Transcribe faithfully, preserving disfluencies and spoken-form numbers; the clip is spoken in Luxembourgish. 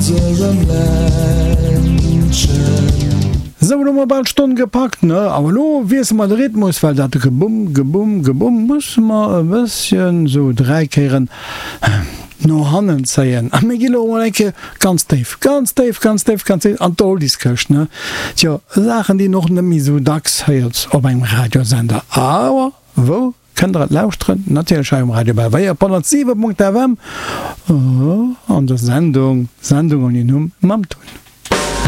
Onserem Ländchen. Sou, elo hu mer bal d'Stonn gepackt, ne? Awer elo wiessele mer de Rhythmus, well dat Gebumm, Gebumm, Gebumm musse mer e bësschen sou dräi Kéieren no hannen zéien. A mir gi lo emol eng Kéier ganz déif, ganz déif, ganz déif, ganz déif an d'Oldies-Këscht, ne? Tjo, Saachen, déi een och net méi sou dacks héiert op engem Radiosender. Awer wou kënnt der et lauschteren? Natierlech hei um Radio Belvéier op honnertsiwe Punkt FM an der Sendung Sendung ouni Numm mam Tun.